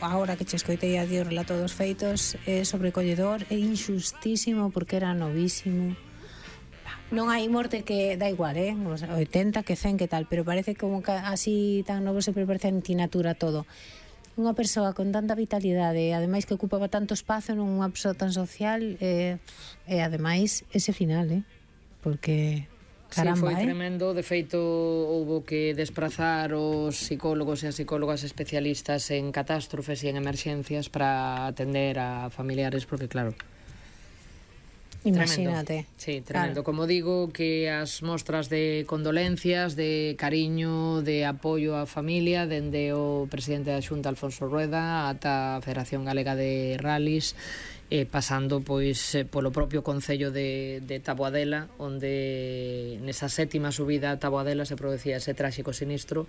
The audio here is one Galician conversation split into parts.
Agora que che escoitei a ti o relato dos feitos, é sobrecolledor, é injustísimo porque era novísimo. Non hai morte que dá igual, 80, que 100, que tal, pero parece como que así tan novo se parece antinatura todo. Unha persoa con tanta vitalidade, ademais que ocupaba tanto espazo nunha persoa tan social, e ademais ese final, porque caramba, sí, foi tremendo. De feito, houbo que desplazar os psicólogos e as psicólogas especialistas en catástrofes e en emerxencias para atender a familiares, porque claro, imagínate. Tremendo. Sí, tremendo. Claro. Como digo, que as mostras de condolencias, de cariño, de apoio á familia, dende o presidente da Xunta, Alfonso Rueda, ata a Federación Galega de Rallys, pasando pois polo propio concello de Taboadela, onde nesa sétima subida a Taboadela se producía ese tráxico sinistro,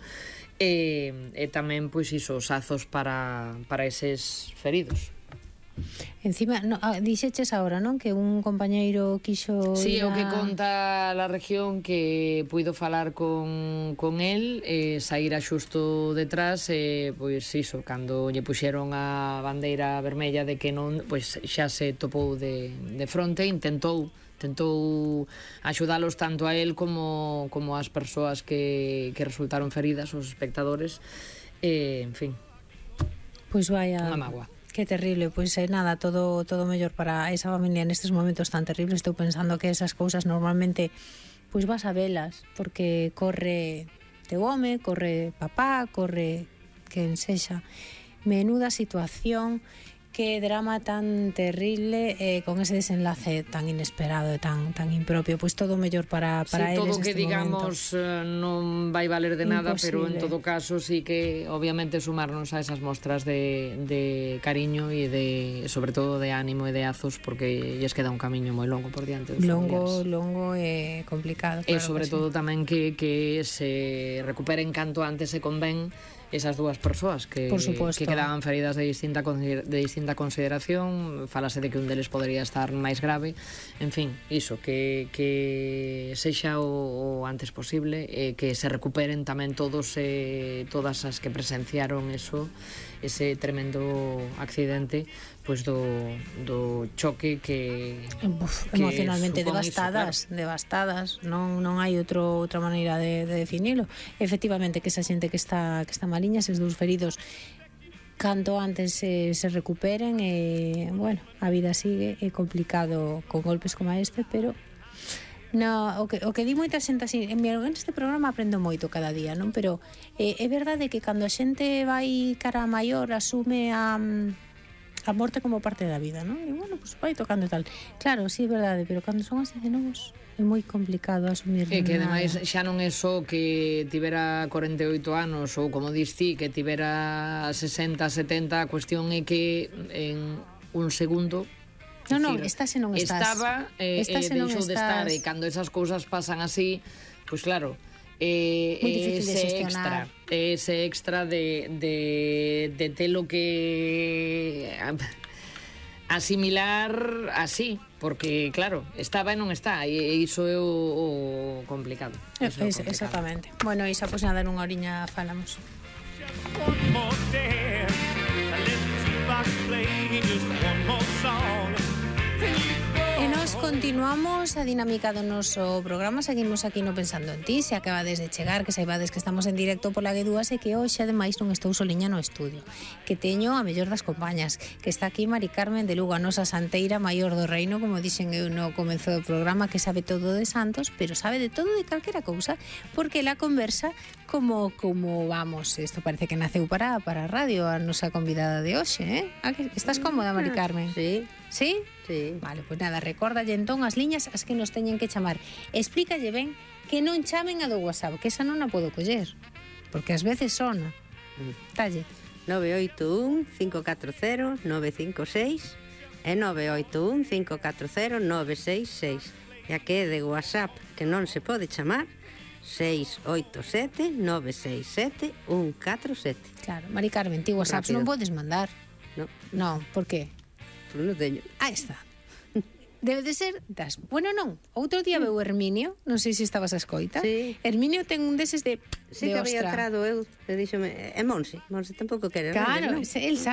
e tamén pois iso, os azos para eses feridos. Encima, dixeches agora, non? Que un compañeiro quixo sí, o que conta la región, que puido falar con el, saíra xusto detrás, pois iso, cando lle puxeron a bandeira vermella de que non, pois xa se topou de fronte, intentou axudalos tanto a él como as persoas que resultaron feridas, os espectadores, en fin. Pois vaya, unha mágoa. Que terrible, pois nada, todo mellor para esa familia nestes momentos tan terribles. Estou pensando que esas cousas normalmente pois vas a velas, porque corre teu home, corre papá, corre quen sexa. Menuda situación, que drama tan terrible, con ese desenlace tan inesperado e tan impropio. Pois todo mellor para eles todo neste que digamos non vai valer de nada. Imposible. Pero en todo caso sí que obviamente sumarnos a esas mostras de cariño e sobre todo de ánimo e de azos, porque lles queda un camiño moi longo por diante dos familiares. Longo e complicado, claro. E sobre todo tamén que se recuperen canto antes se convén esas dúas persoas que quedaban feridas de distinta consideración. Falase de que un deles podería estar máis grave. En fin, iso, que sexa o antes posible, que se recuperen tamén todos todas as que presenciaron ese tremendo accidente, pois do choque que emocionalmente devastadas, non hai outra maneira de definilo. Efectivamente, que esa xente que está maliña, eses dous feridos, canto antes se recuperen, bueno, a vida sigue, é complicado con golpes como este, pero o que di moita xente así, en este programa aprendo moito cada día, non? Pero é verdade que cando a xente vai cara a maior asume a morte como parte da vida, non? E bueno, pues vai tocando e tal. Claro, sí, é verdade, pero cando son así de novos é moi complicado asumir. E que ademais xa non é só que tivera 48 anos ou, como dis ti, que tivera 60, 70, a cuestión é que en un segundo estás e non estás. Estaba e deixou de estar, e cando esas cousas pasan así, pois claro, ese extra de telo que asimilar así, porque claro, estaba e non está, e iso é o complicado. Exactamente. Bueno, Isa, pois nada, nunha horiña falamos. One more dance, let the jukebox play just one more song. E nos continuamos a dinámica do noso programa. Seguimos aquí no Pensando en Ti. Se acabades de chegar, que saibades que estamos en directo pola G2 e que hoxe ademais non estou soliña no estudio, que teño a mellor das compañas, que está aquí Mari Carmen de Lugo, a nosa santeira maior do reino, como dixen eu no comezo do programa, que sabe todo de santos, pero sabe de todo de calquera cousa, porque ela conversa como vamos, isto parece que naceu para a radio, a nosa convidada de hoxe, Estás cómoda, Mari Carmen? Sí. Sí? Sí. Vale, pois nada, recórdalle entón as liñas as que nos teñen que chamar. Explícalle ben que non chamen a do WhatsApp, que esa non a podo coller, porque ás veces sona. Talle 981-540-956 e 981-540-966. E a que é de WhatsApp que non se pode chamar, 687-967-147. Claro, Mari Carmen, ti WhatsApp non podes mandar. No. Non, por qué? Pues non teño. Ahí está. Debe de ser das... Bueno, non. Outro día veu Herminio, non sei se estabas a escoita. Sí. Herminio ten un deses de Sí, que había ostra. trado eu, e díxome, Monse tampouco quere. Claro, non? el sabe